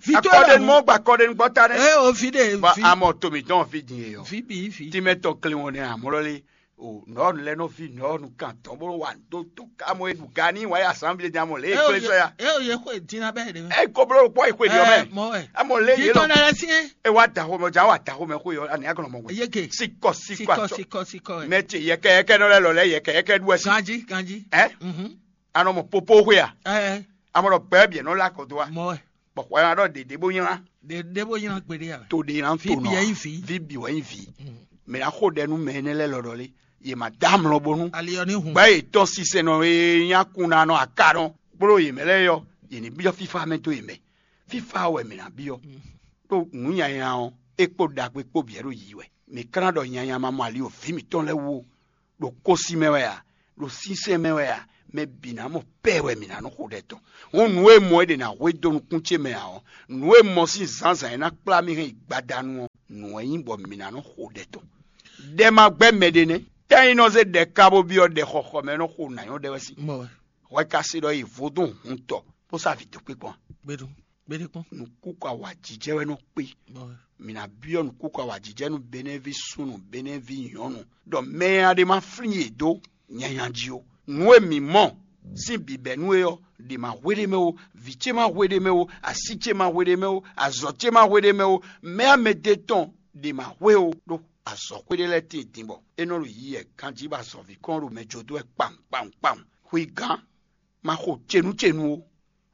Vito wɛ akɔɖenu hǔn. Mɔ gba akɔɖenu gbɔ ta nɛ. Ɛ o vi de. Ba vi. Amɔ to mǐtɔn fi din e yɔ. Vi bi vi. Tí mɛ tɔn kle wɔn nɛ amɔ lɔ lé. O nɔ nu lɛ nɔ vi nɔ nu kan tɔn bó wa do to ká mɔ eɖu ga ní wa ya sanvie din amɔ lé. Ɛ o ekple ye sɔ ya. Ɛ o ye xo dina bɛ de. Ɛ ko blo kpɔ ekwe di ɔmɛ. Mɔ wɛ. Amɔ lé ye Vitɔ lɔ. Nɛ lɛ sie. E wa da xomɛ ja wa da xomɛ xo yɔ ani aglɔ mɔ wɛ. Yeke. Sikɔ sikɔ Sikɔ atsɔ. Sikɔ sikɔ. Mɛ ce yɛkɛ yɛkɛ nɔ lɛ lɔ lɛ yɛkɛ yɛkɛ ɖu ɛsi. Ganji ganji. Ɛ Mhm. Anɔ mɔ popo xwe a? Ɛ Amɔ ɖɔ gbɛ biɛ nɔ la kɔ do wa. Mɔ wɛ. Bɔ xɔ ya ɖɔ ɖeɖe bó nylá. Ɖe ɖe bó nylá gbeɖe a? To ɖe ná to nɔ. Vibi yɛ nyi vi. Vibi wɛ nyi vi. Mɛ ná xo ɖɛ nú mɛ énɛ́ lɛ́ɛ lɔ ɖɔ lé. Yě má dá amlɔ bónú. Ali ɔ ní hun. Gbɛ yětɔn sinsɛnnɔ e nyí akunanɔ akanɔ kpló yě mɛ lɛ́ɛ yɔ, yě ní byɔ́ fífá mɛ dó yě mɛ. Fífá wɛ mǐ ná byɔ́. Ɖó nǔ nyanya ɔ́, é kpó ɖagbe kpó bǐ wɛ ɖo yiyi wɛ. Mǐ ka ná ɖɔ nyanya ma mɔ ali o vǐ mǐtɔn lɛ́ɛ wú o. Ɖo kósi mɛ wɛ a? Ɖo sínsɛ́n mɛ wɛ a? Mɛ bǐ ná mɔ pɛ́ wɛ mǐ ná nɔ xo ɖɛ tɔn. Hǔn nǔ e mɔ é ɖe ná hwe dó nukún ce mɛ ǎ ɔ́, nǔ e mɔ sín zǎnzǎn e ná kplá mì hɛn yi gbadanu ɔ́, nǔ wɛ nyí bɔ mǐ ná nɔ xo ɖɛ tɔn. Ɖɛ ma gbɛ́ mɛ ɖé nɛ́. Tɛ́ nyí nɔ zé ɖɛ ka bó byɔ́ ɖɛ xɔxɔ mɛ nɔ xo nǎ nyɔ́ ɖɛ wɛ sín. Mɔ wɛ. Hwɛ ka se ɖɔ yi vodún hun tɔ bó sá vǐ dó kpé gbɔn. Gbeɖu. Gbeɖe kpɔ́n. Nǔkúkú awǎjijɛ wɛ nɔ kpé. Bɔ Mǐ ná byɔ́ nǔkúkú awǎjijɛ nú Benɛ́ví súnnu, Benɛ́ví nyɔ̌nu, ɖɔ mɛ e a ɖe ma flín yě dó nyanya jí ó. Nǔ e mǐ mɔ sín bǐbɛ́nú é ɔ́, ɖě ma hwe ɖ'é mɛ ó, vǐ ce ma hwe ɖ'é mɛ ó, así ce ma hwe ɖ'é mɛ ó, azɔ̌ ce ma hwe ɖ'é mɛ ó, mɛ amɛdé tɔn ɖě ma hwe ó, ɖó azɔ̌xwé ɖé lɛ́ɛ tíin din bɔ é nɔ ɖo yiyi wɛ ganjí bɔ azɔ̌ví kɔn ɖo mɛ jó dó wɛ kpawun kpawun kpawun. Hwi gǎn, ma xo cenu cenu ó.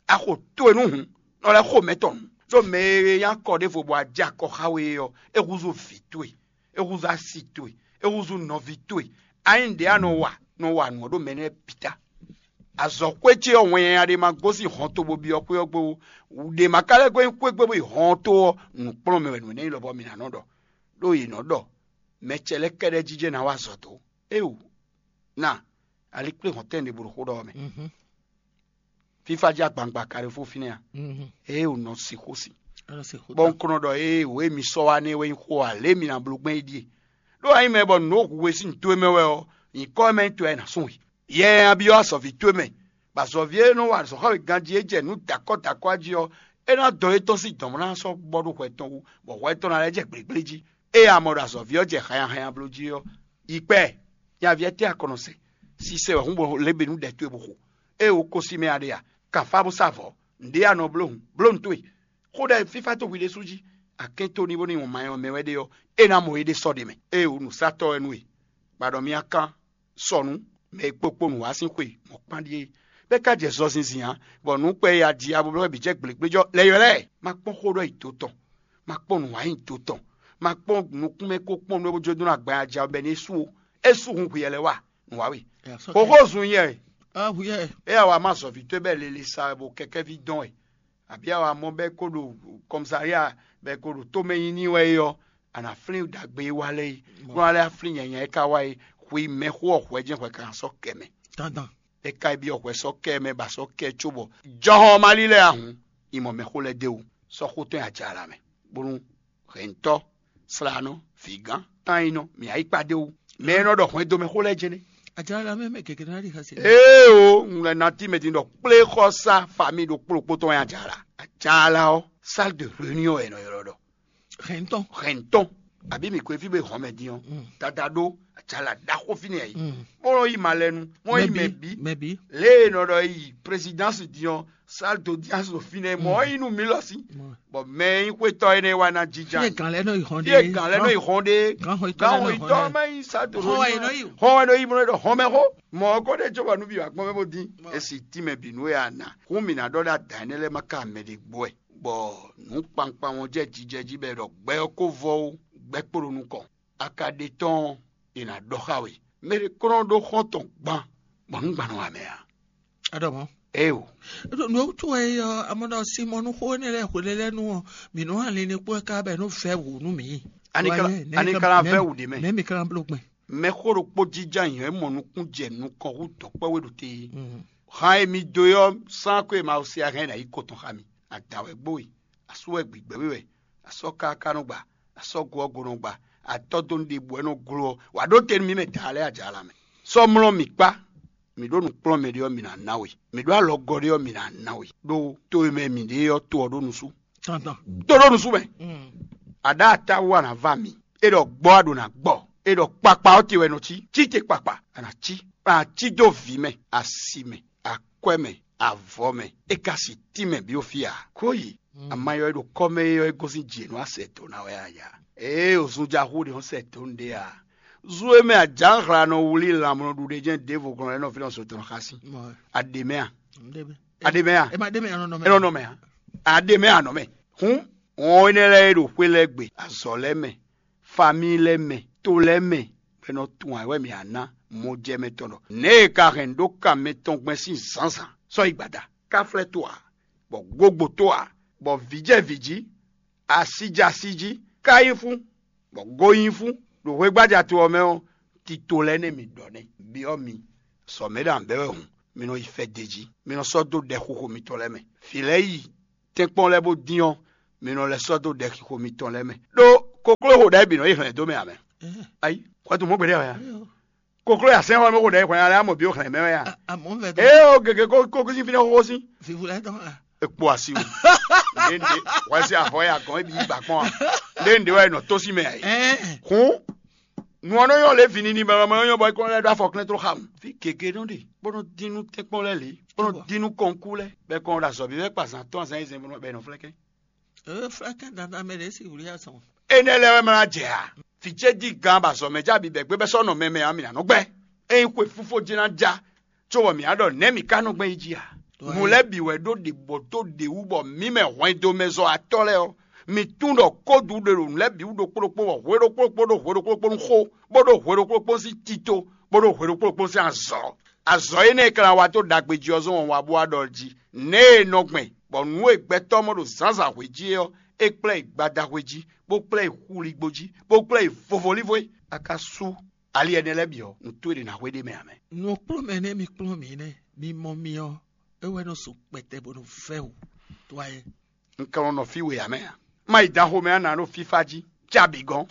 A xo towe nú hǔn, nɔ lɛ́ xo mɛ tɔn nǔ. Ɖó mɛ e nyí akɔ ɖěvo bɔ a jɛ akɔ xá we é ɔ́, é húzú vǐ towe, é húzú asi towe, é húzú nɔví towe. A nyí nǔɖé a nɔ wa, nɔ wa nǔ ɔ́ ɖo mɛ nɛ́ bǐ ta. Azɔ̌xwé ce ɔ́, wɛn nyanya ɖé ma gosín hɔn to bó byɔ́ xwé ɔ́ gbe ó. Ɖě ma ka lɛ́ gosín xwé gbe bó yi hɔn to ɔ́, nǔkplɔ́nmɛ wɛ nǔ énɛ́ nyí lɔbɔ mǐ ná nɔ ɖɔ. Ɖó yě nɔ ɖɔ mɛ ce lɛ́ɛ kɛ́ɖɛ́ jijɛ ná wa azɔ̌ dó. Éeǒ, na, ali kplé hɔn tɛ́nɖě bó ɖo xó ɖɔ ɔ́ mɛ. Fífá jí agbangba ka ɖe fó fínɛ́ a? Ée wǒ nɔ sixú si. Bɔ un kɔn nɔ ɖɔ ée wǒ e mi sɔ́ wá nɛ́ wɛ nyí xó ǎ, lě e mi ná bló gbɛn é ɖíe. Ɖó a nyí mɛ bɔ nǔ ɖo hu we sín nǔ towe mɛ wɛ ɔ́, nyǐkɔ e mɛ nyí towe wɛ è nǎ sún we. Yɛ e a byɔ́ azɔ̌ví towe mɛ, bɔ azɔ̌ví e nɔ wa azɔ̌ xá we ganjí e jɛ nǔ dakɔ́ dakɔ́ jí ɔ́, É ná dɔn étɔn sín dɔ̌n ná sɔ́ bɔ ɖó hwɛ tɔn wú, bɔ hwɛ tɔn ná lɛ́ jɛ gblégbléjí. Ée a mɔ ɖɔ azɔ̌ví ɔ́ jɛ hanyahanyabló jí ɔ́, yi kpɛ, nyaví ɔ́ tɛ́ akɔnɔ se. Sisɛ wɛ hún bɔ lě bǐ nú ɖɛ towe bó xo. Ée wǒ ko sí mɛ a ɖe a? Kan fá bó sá vɔ̌. Nǔɖé a nɔ bló hǔn, bló nǔ towe. Xó ɖɛ fífá towe ɖésú jí, a kɛ́n tó ní bónú nyɔ̌ma e ɔ́ mɛ wɛ ɖe ɔ́, é ná mɔ éɖée sɔ́ ɖe mɛ. Ée wǒ nǔsatɔ́ wɛ nú we, bɔ a ɖɔ mì akán sɔnǔ, mɛ e kpokpo nǔ wá sín xwe mɔ̌ kpán ɖíe. Bɛ́ ka jɛ zɔ zinzin ǎ, bɔ nǔ kpɛ e a ji abɔblɔ́ bǐ jɛ gblégbléjɔ lɛ́ ylɔ́ ɛ. Ma kpɔ́n xó ɖɔ yi do tɔn, ma kpɔ́n nǔwanyi do tɔn, ma kpɔ́n nukúnmɛ ko kpɔ́n nú é bó jló dó ná gban aja bɛ́ ní é su ó. É su hun hwi yɛ lɛ́ɛ wa nǔ wa we. Xóxó zun yɛ. Éyɛ́ wá má zɔ̌ví towe bɛ́ lele sa wɛ bɔ kɛkɛ́ví dɔn wɛ, abǐ a wá mɔ bɛ́ kó ɖo kɔmsária bɛ́ kó ɖo tomɛ nyi n'i wɛ é ɔ́, a nǎ flín ɖagbe e wa lɛ́ɛ é, bó ná lɛ́ flín nyanya e ka wa é, xwe mɛxó ɔ́ hwɛ jɛ́n hwɛ ka ná sɔ́ kɛ mɛ. Dandan. É ka yi byɔ́ hwɛ sɔ́ kɛ mɛ ba sɔ́ kɛ cóbɔ jɔhɔn ma lílɛ́ ahun, yi mɔ mɛxó lɛ́ɛ d'é wú, sɔ́ xó tɔn nyi ajala mɛ, bónú hɛ̌ntɔ́, slánɔ, vǐgán, tányinɔ, mǐ ayǐkpa d'é wú. Mɛ e nɔ ɖɔ hwɛndo mɛ xó lɛ́ɛ jɛ́n nɛ́. Ajala mɛ mɛ gěgé ná ɖi xɛsi. Ee o, un lɛ ná tí mɛ din ɖɔ kplé xɔsá fami ɖokpó ɖokpó tɔn wɛ ajala. Ajala ɔ́, salle de réunion wɛ è nɔ ylɔ́ ɖɔ. Hɛ̌ntɔn. Hɛ̌ntɔn. Abǐ mǐ ko fí bó hɔn mɛ din ɔ́, dada ɖó ajala ɖaxó fínɛ́ yě. Bó nɔ yi malɛnu, wọ́n yi mɛ bǐ. Mɛ bǐ. Lě e è nɔ ɖɔ yi présidence din ɔ́, salle d'audience ɖo fínɛ́, mɔ̌ ɔ́ yi nú mǐ lɔ sí. Bɔ mɛ e nyí xwétɔ́ énɛ́ wá ná jínjɔ́n. Fí e gǎn lɛ́ɛ nɔ yi hɔn ɖe. Fí e gǎn lɛ́ɛ nɔ yi hɔn ɖe. Gǎnhɔn yítɔ́ lɛ́ɛ nɔ yi hɔn ɖe. Má yi salle d'audience. Hɔn wɛ è nɔ yi. Hɔn wɛ nɔ yi mɔ ɖɔ hɔn mɛ xó. Mɔ̌ ɔ́ ko ɖe cóbɔ nú bǐ wá gbɔn mɛ bó dín. E si tínmɛ bǐ nú we a nǎ. Hǔn mǐ ná ɖɔ ɖó adǎ énɛ́ lɛ́ɛ má ka mɛ ɖě gbɔ wɛ. Bɔ nǔ kpankpan ɔ́ jɛ jijɛ jí bɔ è ɖɔ gbɛ ɔ́ ko vɔ ó, gbɛ́ kpo ɖo nukɔn. A ka ɖe tɔ́n ɔ́, è nǎ ɖɔ xá we. Mɛ ɖé kɔn nɔ ɖó xɔ́n tɔn gban, bɔ nǔ gban nɔ wa mɛ ǎ. A ɖɔ mɔ̌. Éeǒ. Nǔ e wútu wɛ é ɔ́, a mɔ ɖɔ Sinmɔnu xó énɛ́ lɛ́ɛ hwelélɛ́nu ɔ́, mǐ nɔ́ hɛn linlin kpó ɛ ká bɔ é nɔ́ vɛ́ wǔ nú mǐ. Ani ka la- Wá yɛ, nɛ̌ ani mǐ ka ka- la nɛ̌ vɛ́ mǐ- wǔ ɖě mɛ? Nɛ̌ mǐ ka ná bló gbɛn? Mɛxó ɖokpó jínjɔ́n ayǐ ɔ́, é mɔ nukún jɛ nukɔn hú dɔ̌nkpɛ́ we ɖo te é. Mm. Han e mi dó é ɔ́, sán ko e ma se ahɛn ná yi ko tɔn xá mi. Adǎn wɛ gbó we, asú wɛ gbigbɛ we wɛ, asɔ́ káká nɔ gba, asɔ́ go ɔ́ go nɔ gba, atɔ́ dó nu ɖěbǔ wɛ nɔ gló ɔ́, wǎ ɖó te nú mì mɛ daa lɛ́ɛ ajala mɛ. Sɔ́ mlɔ́ mì kpá, mǐ ɖó nǔ kplɔ́n mɛɖé ɔ́, mǐ ná ná we. Mǐ ɖó alɔ gɔ́ ɖé ɔ́, mǐ ná ná we. Ɖó to e mɛ mǐ ɖe ɔ́, to ɔ́ ɖó nusú. Tɔntɔn. Tó ɖó nusú mɛ. Mm. A ɖá ata wú a nǎ va mì. É ɖɔ gbɔ a ɖǒ ná gbɔ. É ɖɔ kpakpa ɔ́ te wɛ nɔ cí. Cí te kpakpa a nǎ cí. A nǎ cí dó vǐ mɛ, asi mɛ, akwɛ́ mɛ, avɔ mɛ. É ka si tínmɛ byɔ́ fí ǎ. Kó yi. Mm. Amayɔ e ɖo kɔ́ mɛ é ɔ́, é gosín jǐ e nú a sɛ dǒ ná wɛ a ya. Ee, o zunja xú ɖe ɔ́ sɛ dǒ nu ɖé ǎ. Zu e mɛ ajǎnhla nɔ wlí lanmlɔɖuɖe jɛ́n ɖěvo glɔ́n lɛ́ɛ nɔ fínɛ́ sɔtɔnɔ xá sí. Mɔ. A ɖe mɛ a? Ɖe mɛ. A ɖe mɛ a? E ma ɖe mɛ anɔ nɔ mɛ. E nɔ nɔ mɛ a? A ɖe mɛ a nɔ mɛ. Hǔn wɔn énɛ́ lɛ́ɛ e ɖo xwé lɛ́ɛ gbe, azɔ̌ lɛ́ɛ mɛ, famíi lɛ́ɛ mɛ, to lɛ́ɛ mɛ, bɔ è nɔ tunwun ayǐ wɛ mǐ ná ná mɔjɛmɛ tɔn ɖɔ nɛ̌ e ka hɛn ɖó kan mɛtɔn gbɛn sín zǎnzǎn sɔ́ yi gbada, ká flɛ́ to ǎ, bɔ gogbo to ǎ, bɔ vǐ jɛ vǐ jí, asi jɛ asi jí, ká nyí fún, bɔ go nyí fún ɖo hwegbaja to ɔ́ mɛ ɔ́, tito lɛ́ɛ nɛ́ mǐ ɖɔ nɛ́. Byɔ́ mi, sɔ mɛ̌ ɖo anbɛ́ wɛ hǔn, mi nɔ yi fɛ́ d'é jí, mi nɔ sɔ́ dó ɖɛ xixo mitɔn lɛ́ɛ mɛ. Vǐ lɛ́ɛ yi tɛ́nkpɔ́n lɛ́ɛ bó dín ɔ́, mi nɔ lɛ́ sɔ́ dó ɖɛ xixo mitɔn lɛ́ɛ mɛ. Ɖó kokló ho ɖɛ̌ bǐ nɔ yi hlɛ̌n dó mɛ ǎ mɛ. Ayi, hwɛ̌tu mɔ̌ gbeɖé wɛ ǎ. Kokló yi asɛ́n xɔ mɛ xo ɖɛ̌ hwɛ̌n alɛ amɔ bǐ xlɛ̌n mɛ wɛ a? Amɔ̌ vɛ dó. Ee o gěgé kó kó sín fínɛ́ xóxó sín. Vivu lɛ́ɛ tɔn a? Ekpo asi o. Nde nde wɛ si avɔ ya gɔn ebi yi ba kpɔn a? Nde nde wɛ nɔ tó sí mɛ a yi? Ɛɛ. Hun. Nu ɔ́ nɔ nyɔ́ lě vǐ nini mɛ mɛ nyɔ́ bɔ é kɔn lɛ́ ɖó afɔ klɛ́n tló xa mu. Fí gěgé nɔ ɖe, bó nɔ dín nú tɛ́nkpɔ́n lɛ́ɛ lě, bó nɔ dín nú kɔnkú lɛ́ɛ, bɔ é kɔn ɖo azɔ̌ vívɛ́ kpa zǎn tɔn azǎn e zɛn bɔ è nɔ flɛ́kɛ́n. Ee, flɛ́kɛ́n dandan mɛ ɖě si wlí azɔn. Énɛ́ lɛ́ɛ wɛ ma ná jɛ a? Vǐ ce jí gǎn bɔ azɔ̌ mɛ já bǐ bɛ̌ gbé bɛ́ sɔ́ nɔ mɛ mɛ ǎ, mǐ ná nɔ gbɛ́. Ényí xwe fífó jɛ́n ná já, cóbɔ mǐ á ɖɔ nɛ̌ mǐ ka nɔ gbɛn yi jí a? Nǔ lɛ́ɛ bǐ wɛ ɖó ɖě bɔ dó ɖě wú bɔ mǐ mɛ hwɛndo mɛ zɔ atɔ́ lɛ́ɛ ɔ́, mǐ tunwun ɖɔ kódu ɖe ɖo nǔ lɛ́ɛ bǐ wú ɖokpó ɖokpó, bɔ hwe ɖokpó ɖokpó ɖó hwe ɖokpó ɖokpó nú xó, bó ɖó hwe ɖokpó ɖokpó sín tito, bó ɖó hwe ɖokpó ɖokpó sín azɔ̌. Azɔ̌ énɛ́ e ka ná wa dó ɖagbe jí ɔ́ zɔ́n wǎn wá bó wá ɖɔ jí, nɛ̌ e nɔ gbɛn, bɔ nǔ e gbɛtɔ́ mɔ ɖo zǎnzǎn hwe jí é ɔ́, é kplá yi gbada hwe jí, bó kplá yi xuligbo jí, bó kplá yi vovolívo é. A ka sú ali ɛnɛ lɛ́ɛ bǐ ɔ́, nǔ towe ɖě ná hwe ɖ'é mɛ ǎ mɛ. Nǔ kplɔ́n mɛ nɛ́ mi kplɔ́n mǐ nɛ́, mi mɔ mi ɔ́, é wɛ nɔ su kpɛtɛ bó nɔ vɛ́ wǔ. Tó ayɛ. Un ka nɔ nɔ fí we ǎ mɛ ǎ. Má yi dan xomɛ ǎ nǎ ɖo fífá jí, cá bǐ gɔ́n.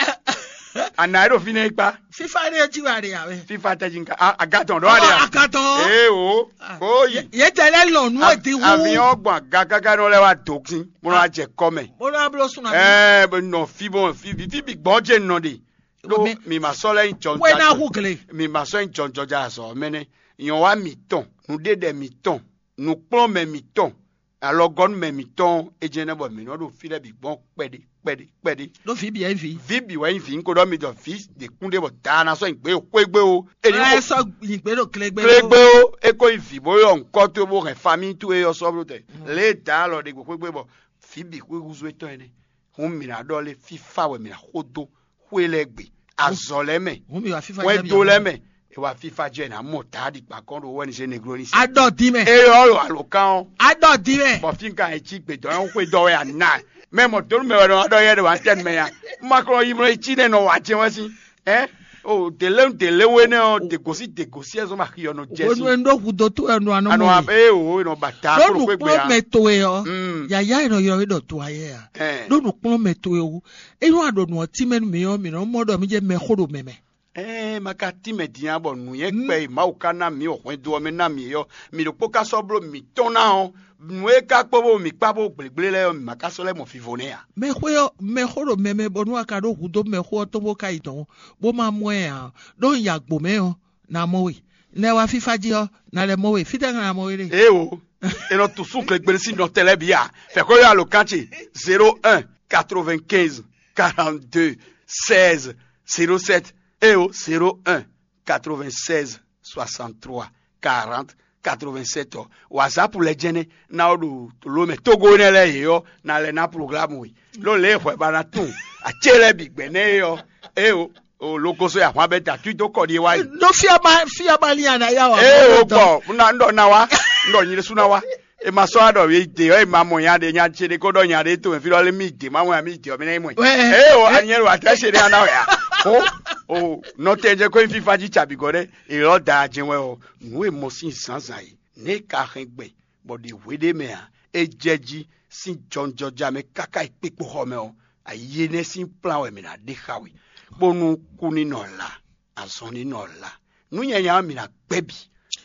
Ana e ɖo fínɛ́ yi kpá. Fífá ɖé jí wɛ aɖe ǎ wɛ. Fífá tɛ jí nka a- agatɔn ɖɔ aɖe a. Agatɔn. Ee o. Ko yi. Yě tɛ lɛ́ lɔn nú èdí wú. Aviɔn gbɔn agagaga nɔ lɛ wa dǒ kín bó nɔ wá jɛ kɔ mɛ. Bó nɔ wá bló sun na. Ɛɛ bɛ nɔ fi bɔ fi fi fi bi gbɔn jɛ nɔ de. Ɖó mi ma sɔ lɛ yin jɔn. Wɛ na hu gle. Mi ma sɔ yin jɔn jɔn ja azɔ mɛnɛ. Nyɔwa mitɔn, nǔɖeɖɛ mitɔn, nǔkplɔ́nmɛ mitɔn, alɔgɔ́númɛ mitɔn, é jɛ́n nɛ́ bɔ mǐ nɔ ɖo fí lɛ́ɛ bǐ gbɔn kpɛɖé kpɛɖé kpɛɖé. Ɖó vǐ bǐ wɛ nyí vǐ. Vǐ bǐ wɛ nyí vǐ, un ko ɖɔ mi ɖɔ vǐ ɖě kún ɖé bɔ daa ná sɔ́ nyi gbě xwégbé o. É ní Ɛ xo sɔ́ nyi gbě ɖo klégbé. Klégbé o, é ko nyí vǐ bó yɔ ŋkɔ towe bó hɛn famíi towe ɔ́ sɔ́ bló tɛ. Lě e daa lɔ ɖe gbě xwégbé bɔ vǐ bǐ xwé húzú étɔn ɛnɛ. Hǔn mǐ ná ɖɔ lé fífá wɛ mǐ ná xo dó xwé lɛ́ɛ gbe, azɔ̌ lɛ́ɛ mɛ, Hǔn mi wa fífá wɛndo lɛ́ɛ mɛ, è wa fífá jɛ è nǎ mɔ Daadi kpakɔn ɖo wɛnizé negloni se. Aɖɔ din mɛ. Eyɔ ɖo alokán ɔ́, Aɖɔ din mɛ. Bɔ fínkan e cí gbedɔ ɔ́ xwedɔ wɛ a na. Mɛ mɔ donu mɛ wɛ nɔ aɖɔ yɛ ɖo antɛn mɛ ya. Makɔn yi mlɔ yi cí nɛ nɔ wà jɛ wɛ sín. Ɛ o délé délé wé nɛ ɔ dègòsí dègòsí ɛ zɔn ma xi ɔ nɔ jɛ Wenu sín. Enu ɖo hudo to ɛnu anɔ Anɔ mɔ. Abe o nɔ ba ta Ɖo kúrò kpé gbé nukplɔ́n ya. Mɛ towe ɔ́, Mm. Yaya e nɔ ylɔ́ we ɖɔ to ayɛ a. Ɛ. Ɖo nukplɔ́n mɛ towe wú. Ényí wàá ɖo nǔ ɔ́ tínmɛ nú mǐ ɔ́, mǐ nɔ mɔ ɖɔ mí jɛ mɛxó ɖo mɛ mɛ. Ɛɛ ma ka tínmɛ din ǎ bɔ nǔnywɛ́ kpɛ e Mawu ka ná mǐ wɔ hwɛndo ɔ́ mɛ ná mǐ é ɔ́, mǐ ɖokpó ka sɔ́ bló mǐtɔn ná ɔ́, nǔ e ka kpó bó mǐ kpá bó gblěgblé lɛ́ɛ ɔ́, mǐ ma ka sɔ́ lɛ́ mɔ vivo nɛ́ ǎ. Mɛxó ɔ́, mɛxó ɖo mɛ mɛ bɔ nú a ka ɖó hǔ dó mɛxó ɔ́ tɔn bó ka yi dɔ̌n, bó ma mɔ ɛ ǎ, ɖó un yi agbo mɛ ɔ́, ná mɔ we. Nɛ wá fífá jí ɔ́, ná lɛ́ mɔ we. Fítɛ́ ná mɔ we ɖe? Ee o, è nɔ tu sú glegbele sín nɔ tɛlɛ bǐ a. Fɛ̌ xó yɔ alǒkan ce: zéro un quatre-vingt-quinze quarante-deux seize zéro sept. Ee o, zéro un quatre-vingt-seize soixante-trois quarante quatre-vingt-sept ɔ. WhatsApp lɛ jɛnɛ ná ɔ ɖo lomɛ Togo nɛ lɛ yě ɔ na lɛ ná programme we. Lɔ lɛ hwɛ ba na tún acé lɛ bi gbɛ nɛ yé ɔ. Ee o, o logoso ya hwan bɛ da tui dó kɔ ɖi wá yi. Ɖó fia ma fia ma lin ana ya wa. Ee o gbɔ na ndɔ na wa, ndɔ nyi ɖésú na wa. E ma sɔ aɖɔ ye de ɔ e ma mɔ nya ɖe nya ce ɖe ko ɖɔ nya ɖe to mɛ fi ɖɔ lé mi de ma mɔ ya mi de ɔ mi na yi mɔ. Ee o anyɛ lo atɛ se ɖe ana ya. O o nɔtɛ jɛ ko nyi fifa ji cabi gɔ ɖe. Elɔ da jɛ wɛ o nǔ e mɔ sín zǎnzǎn e nɛ̌ ka hɛn gbɛ bɔ ɖe hweɖé mɛ ǎ, é jɛ jí sín jɔnjɔja mɛ káká yi kpikpo xɔ mɛ ɔ́, ayi énɛ́ sín kplán wɛ mǐ ná ɖe xá we, bónú kú ní nɔ la, azɔn ní nɔ la. Nǔ nyanya ɔ́ mǐ ná gbɛ́ bǐ,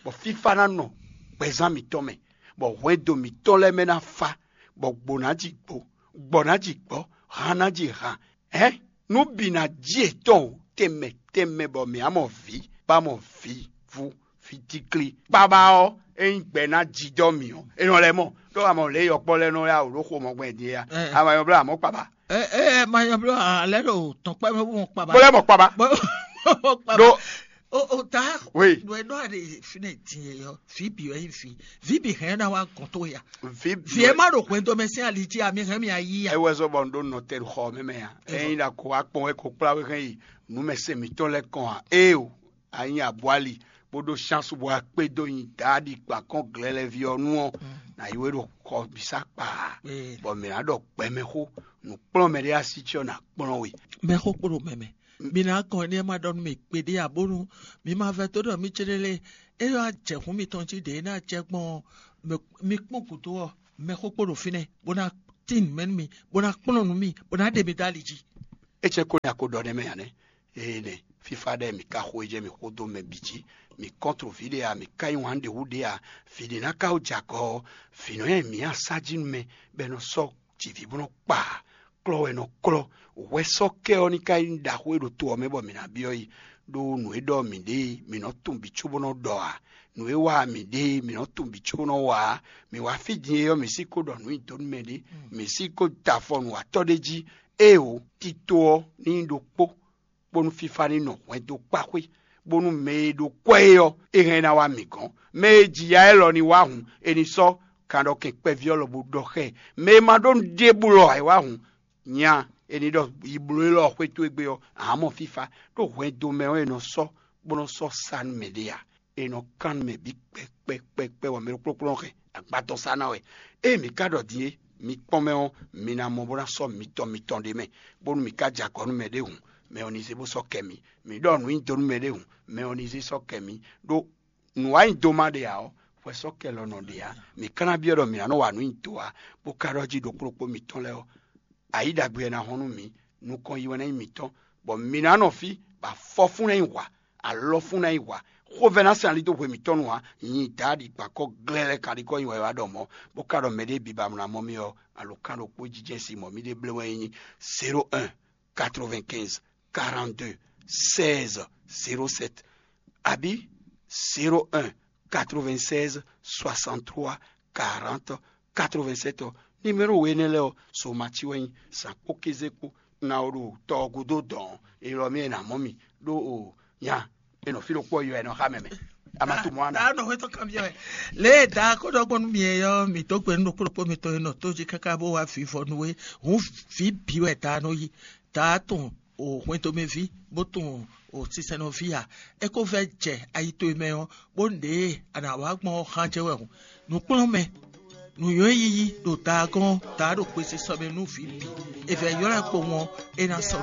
bɔ fífá ná nɔ gbɛzán mǐtɔn mɛ, bɔ hwɛndo mǐtɔn lɛ́ɛ mɛ ná fá, bɔ gbo ná ji gbo, gbɔ ná ji gbɔ, han ná ji han. Hɛ̌n, nǔ bǐ ná ji yětɔn o, tɛnmɛ tɛnmɛ bɔ mǐ á mɔ vǐ, bá mɔ vǐ vú, vǐ tíklí. Kpaba ɔ́, é nyí gbɛ ná jijɔ mǐ ɔ́, é nɔ lɛ́ mɔ. Ɖó a mɔ lě yɔkpɔ́ lɛ́ɛ nɔ yá wǔ ɖó xo mɔ gbɛn din é ya? A ma nyɔ bló amɔ̌ kpaba. Ɛ ɛ ma nyɔ bló alɛ ɖo tɔn kpɛ mɛ bó mɔ kpaba. Bó lɛ́ mɔ kpaba. Bó mɔ kpaba. Ɖó o o ta Oui. Nɔ ɛ nɔ aɖe fi ne din yɛ yɔ vi bi wɛ yi vi vi bi hɛn na wa gɔn to ya. Vi vi ɛ ma ɖo hwɛndo mɛ sín ali jí ami hɛn mi ayi ya. Ewɛ zɔ bɔ n ɖo nɔtɛn xɔ mɛ mɛ ya. Ɛyin la ko akpɔn wɛ ko kplá wɛ hɛn yi numɛsɛn mǐtɔn lɛ́ɛ kɔn a? Ée o, a nyí abwali, bó ɖó chance bɔ a kpé dó nyi Daadi kpan kɔn glɛlɛví ɔ́ nu ɔ́, nǎ yi we ɖo xɔ bǐ sá kpaa, bɔ mǐ ná ɖɔ gbɛmɛxó, nǔkplɔ́nmɛ ɖé así ce ɔ́ ná kplɔ́n we. Mɛxó kpo ɖo mɛ mɛ. Mi ná kɔn énɛ́ ma ɖɔ nú mi kpeɖé ǎ, bónú mi ma vɛdó ɖɔ mí céɖé lé. É wá jɛ hǔn mitɔn jí ɖě é ná jɛ gbɔn ɔ́, mi kpɔ́n gǔdo ɔ́, mɛxó kpo ɖo fínɛ́, bó ná tín nǔ mɛ nú mi, bó ná kplɔ́n nǔ mi, bó ná ɖe mi dó ali jí. É cɛ́ ko nyi a ko ɖɔ nɛ́ mɛ ǎ nɛ́? Énɛ́, fífá ɖɛ́ɛ mǐ ka xo e jɛ mǐ xo dó mɛ bǐ jí. Mǐ kɔ́ntro vǐ ɖé a, mǐ ka nyí wǎn ɖě wú ɖě a, vǐ ɖé ná ka wú jɛ agɔ ɔ́, vǐ nɔ nyi mǐ asá jí nú mɛ, bɔ è nɔ sɔ́ jǐví bó nɔ kpa ǎ. Klɔ́ wɛ è nɔ klɔ́. Hwɛ sɔ́ kɛ ɔ́ ní ka nyí ɖaxó e ɖo to ɔ́ mɛ bɔ mǐ ná byɔ́ yi, ɖó nǔ e ɖɔ mǐ ɖe e, mǐ nɔ tunwun bǐ cóbó nɔ ɖɔ ǎ. Nǔ e wa mǐ ɖe e, mǐ nɔ tunwun bǐ cóbó nɔ wa ǎ. Mǐ wá fí din é ɔ́, mǐ sí ko ɖɔ nǔ nyi dó nú mɛ ɖé, mǐ sí ko da afɔ nǔwatɔ́ ɖé jí. Éeǒ, tito ɔ́ ní nyí ɖokpó, bónú fífá ní nɔ hwɛndo kpá xwé, bónú mɛ e ɖo kwɛ́ é ɔ́, é hɛn ná wá mǐ gɔ́n. Mɛ e ji ya élɔ́ ní wá hǔn, è ní sɔ́ kanɖɔkɛn kpɛví ɔ́ lɔbo ɖɔ xá ɛ. Mɛ e ma ɖó nǔɖé blɔ ǎ é wá hǔn, nya, è ní ɖɔ yi bló élɔ́ ɔ́ xwé towe gbe ɔ́, ǎ mɔ fífá, ɖó hwɛndo mɛ ɔ́ è nɔ sɔ́, bó nɔ́ sɔ́ sa nú mɛɖé ǎ. È nɔ kan nú mɛ bǐ kpɛkpɛkpɛkpɛ bɔ mɛ ɖokplɔ́kplɔ́ hɛn agbatɔ sá ná wɛ. Ée mǐ ka ɖɔ din é, mi kpɔ́n mɛ ɔ́, mi ná mɔ bó ná sɔ́ mitɔn mitɔn ɖ'é mɛ, bónú mǐ ka jɛ agɔ nú mɛɖé hǔn, mɛ ɔ́ ní zé bó sɔ́ kɛ mi. Mǐ ɖɔ nǔ nyi do nú mɛɖé hǔn, mɛ ɔ́ ní zé sɔ́ kɛ mi. Ɖó nǔwanyido ma ɖe ǎ ɔ́, hwɛ sɔ́ kɛ lɔ nɔ ɖe ǎ. Mǐ ka ná byɔ́ ɖɔ mǐ ná nɔ wa nǔ nyi do ǎ, bó ka ɖɔ jí ɖokpó ɖokpó mitɔn lɛ́ɛ ɔ́, ayǐ ɖagbe ɔ́ ná hɔn nú mǐ, nukɔn yi wɛ ná nyí mǐtɔn. Bɔ mǐ ná nɔ fí, bɔ afɔfún ná nyi hwa, alɔfún ná nyi hwa. Xovɛ́ ná sɛn ali dó hwe mǐtɔn nu ǎ. Nyi Daadi gbakɔ glɛ́lɛ́ kaɖikɔ nyi wɛ wá ɖɔ mɔ̌, bó ka ɖɔ mɛɖé bǐ ba mlá mɔ mì ɔ́, alǒkan ɖokpó jijɛ si mɔ̌ mì ɖe blé wɛ nyí zéro un quatre-vingt-quinze quarante-deux seize zéro sept, abǐ zéro un quatre-vingt-seize soixante-trois quarante quatre-vingt-sept ɔ́. Nimero we énɛ́ lɛ́ɛ ɔ́, Somati wɛ nyí, zǎn kpó kéze kpó. Ná ó ɖo tɔ ɔ́ gúdo dɔ̌n, élɔ́ mì e nǎ mɔ mì ɖó o nya e nɔ fí ɖokpó ɔ́ yɔ ɛ nɔ xá mɛ mɛ. Amatu mɔ ana. Daa nɔ hwetɔ́ kanbyɔ́ wɛ. Lě e daa ko ɖɔ gbɔn nú mi é ɔ́, mǐ dó gbe nú ɖokpó ɖokpó mitɔn e nɔ tó jí káká bó wá vivɔ nú we. Hǔn vǐ bǐ wɛ daa nɔ yí. Daa tɔn o hwɛndomɛví, bó tɔn o sinsɛnɔví ǎ. É ko vɛ́ jɛ ayi towe mɛ ɔ́, bó ɖě e a nǎ wá gbɔn ɔ́ xán jɛ wɛ hǔn. Nǔkplɔ́nmɛ, nǔnywɛ́ yiyi ɖo daa gɔ́n ɔ́, daa ɖo xwesisɔ mɛ nú vǐ bǐ. È vɛ̌ ylɔ́ ɛ kpowun ɔ́, é ná sɔ́